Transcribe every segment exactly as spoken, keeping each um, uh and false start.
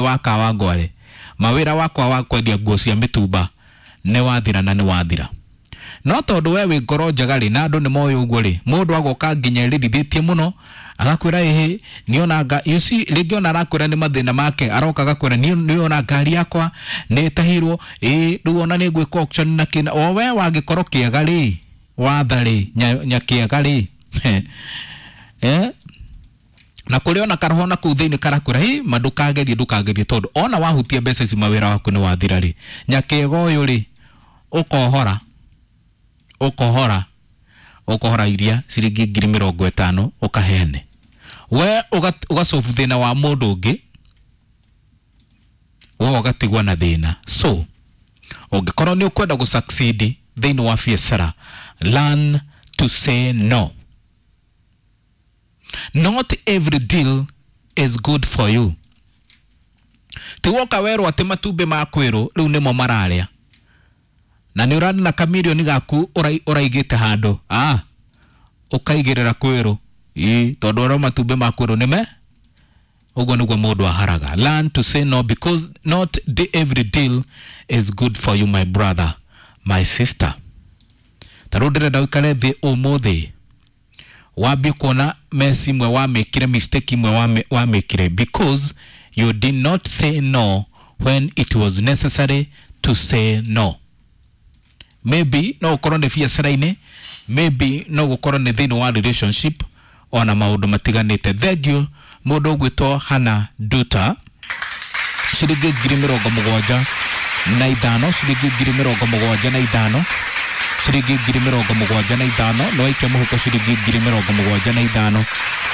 Wa Kawangware, mawĩra wakwa wa kwendia nguo cia mĩtumba nĩ wathira na nĩ wathira. No tondũ we wĩ ngoro njega rĩ, na andũ nĩ moĩ ũguo rĩ, mũndũ agoka nginya ĩrĩrithĩtie mũno agakwĩra ĩhĩ nĩona nga, you see, rĩngĩ ona arakwĩra nĩ mathĩna make, aroka agakwĩra nĩona ngari yakwa nĩ ĩtahirwo, ĩ rĩu ona nĩ ngwĩka auction na kĩna. O we wangĩkorwo kĩega rĩ, watha rĩ, nyakĩega rĩ, eh na kũrĩ ona karoho na kũu thĩinĩ karakwĩra hi ma ndũkagerie, ndũkagerie, tondũ ona wahutia mbeca ici mawĩra waku nĩ wathira rĩ, nyakĩega ũyũ rĩ, ũkohora ũkohora ũkohora iria ciringi ngiri mĩrongo ĩtano ũkaheane, we ũgacobu thĩna wa mũndũ ũngĩ, we ũgatigwo na thĩna. So ũngĩkorwo nĩ ũkwenda gũ succeed thĩinĩ wa biacara, learn to say no. Not every deal is good for you. Ti woka werwo atĩ matumbĩ ma kwĩrwo rĩu nĩmo mararĩa, na nĩ ũrarĩ na kamirioni gaku ũraigĩte handũ, ah ũkaigĩrĩra kwĩrwo ĩ tondũ ũrĩa matumbĩ ma kwĩrwo nĩme ũguo nĩguo mũndũ aharaga. Learn to say no, because not the every deal is good for you, my brother, my sister. Ta rĩu ndĩrenda ũikare thĩ ũmũthĩ wambie kuona mess imwe wamĩkire, mistake imwe wamĩkire, because you did not say no when it was necessary to say no. Maybe no ũkorwo nĩ biacara-inĩ, maybe no gũkorwo nĩ thĩinĩ wa relationship, ona maũndũ matiganĩte. Thank you mũndũ ũgwĩtwo Hannah Duta, ciringi ngiri mĩrongo mũgwanja na ithano, ciringi ngiri mĩrongo mũgwanja na ithano, ciringi ngiri mĩrongo mũgwanja na ithano, no aikia mũhuko ciringi ngiri mĩrongo mũgwanja na ithano,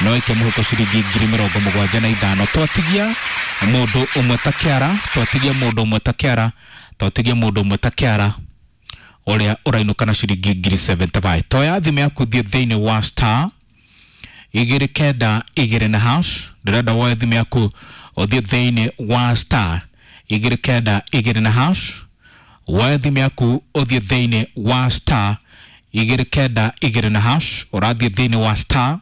no aikia mũhuko ciringi ngiri mĩrongo mũgwanja na ithano. Twatigia mũndũ ũmwe ta kĩara, twatigia mũndũ ũmwe ta kĩara, twatigia mũndũ ũmwe ta kĩara ũrĩa ũrainũka na ciringi ngiri seventy-five. Toya thimũ yaku thiĩ thĩinĩ wa star igĩrĩ kenda igĩrĩ na hash. Ndĩrenda woe thimũ yaku ũthiĩ thĩinĩ wa star igĩrĩ kenda igĩrĩ na hash. Woe thimũ yaku ũthiĩ thĩinĩ wa star igĩrĩ kenda igĩrĩ na hash. Ũrathiĩ thĩinĩ wa star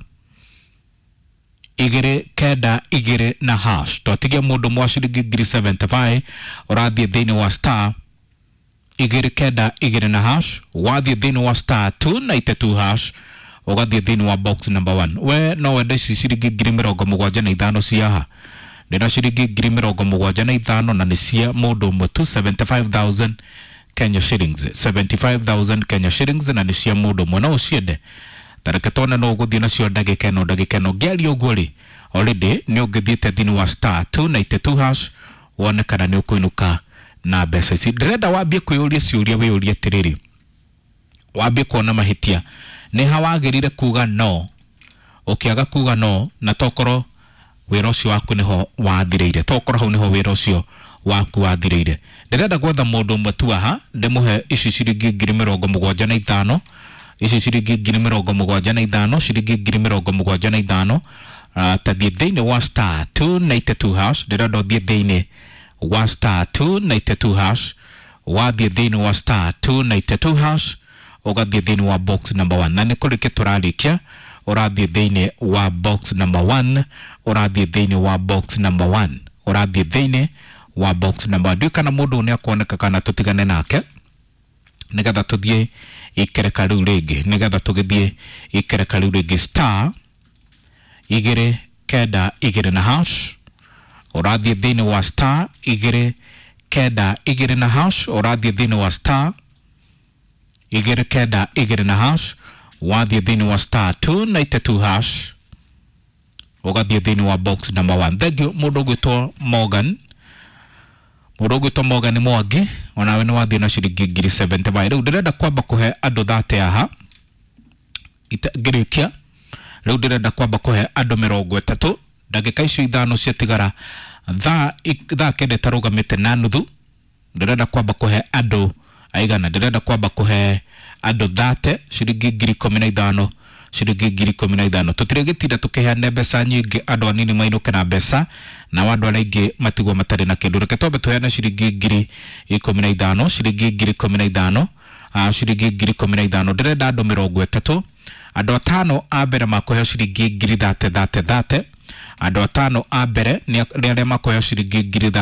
igĩrĩ kenda igĩrĩ na hash. Twatigia mũndũ mwa ciringi ngiri seventy-five, ũrathiĩ thĩinĩ wa star igĩrĩ kenda igĩrĩ na hash. Wathiĩ thĩinĩ wa star two ninety-two hash, ũgathiĩ thĩinĩ wa box number one. We no wende ici ciringi ngiri mĩrongo mũgwanja na ithano cia haha, ndĩna ciringi ngiri mĩrongo mũgwanja na ithano na nĩ cia mũndũ ũmwe tu, seventy-five thousand Kenya shillings, seventy-five thousand Kenya shillings na nĩ cia mũndũ ũmwe. No ũciende, tareke tuone no ũgũthiĩ nacio ndagĩka ĩno, ndagĩka ĩno ngĩaria ũguo rĩ, already nĩ ũngĩthiĩte thĩinĩ wa star two ninety-two hash wone kana nĩ ũkũinũka na mbeca ici. Ndĩrenda wambie kwĩyũria ciũria, wĩyũrie atĩrĩrĩ, wambie kuona mahĩtia nĩ ha wagĩrĩire kuga no, ũkĩaga kuga no, na tokorwo wĩra ũcio waku nĩho wathirĩire, tokorwo hau nĩho wĩra ũcio waku wathirĩire. Ndĩrenda gwetha mũndũ ũmwe tu haha ndĩmũhe ici ciringi ngiri mĩrongo mũgwanja na ithano, ici ciringi ngiri mĩrongo mũgwanja na ithano, ciringi ngiri mĩrongo mũgwanja na ithano. Uh, tathiĩ thĩinĩ wa star two ninety-two hash. Ndĩrenda ũthiĩ thĩinĩ wa star two ninety-two hash. Wathiĩ thĩinĩ wa star two ninety-two hash, ũgathiĩ thĩinĩ wa box number one, na nĩ kũrĩkia tũrarĩkia. Ũrathiĩ thĩinĩ wa box number one, ũrathiĩ thĩinĩ wa box number one, ũrathiĩ thĩinĩ wa box number one. Ndiũĩ kana mũndũ nĩ akuoneka kana tũtigane nake nĩgetha tũthiĩ ikereka rĩu rĩngĩ, nĩgetha tũgĩthiĩ ikereka rĩu rĩngĩ. Star igĩrĩ kenda igĩrĩ na hash, ũrathiĩ thĩinĩ wa star igĩrĩ kenda igĩrĩ na hash, ũrathiĩ thĩinĩ wa star igĩrĩ kenda igĩrĩ na hash. Wathiĩ thĩinĩ wa star two ninety-two hash, ũgathiĩ thĩinĩ wa box number one. Thank you mũndũ ũgwĩtwo Morgan, mũndũ ũgwĩtwo Morgan Mwangi, onawe nĩ wathiĩ na ciringi ngiri seventy-five. Rĩu ndĩrenda kwamba kũhe andũ thate haha ngĩrĩkia. Rĩu ndĩrenda kwamba kũhe andũ mĩrongo ĩtatũ ndagĩka icio ithano ciatigara thaa thaa kenda ĩtarũgamĩte na nuthu. Ndĩrenda kwamba kũhe andũ aigana, ndĩrenda kwamba kũhe andũ thate ciringi ngiri ikũmi na ithano, ciringi ngiri ikũmi na ithano. Tũtirĩgĩtinda tũkĩheana mbeca nyingĩ, andũ anini mainũke na mbeca nao andũ arĩa aingĩ matigwo matarĩ na kĩndũ. Reke twambe tũheane ciringi ngiri ikũmi na ithano, ciringi ngiri ikũmi na ithano, ciringi ngiri ikũmi na ithano. Ndĩrenda andũ mĩrongo ĩtatũ, andũ atano a mbere makũheo ciringi ngiri thate thate thate, Andũ atano a mbere nĩ arĩa makoya ciringi ngiri.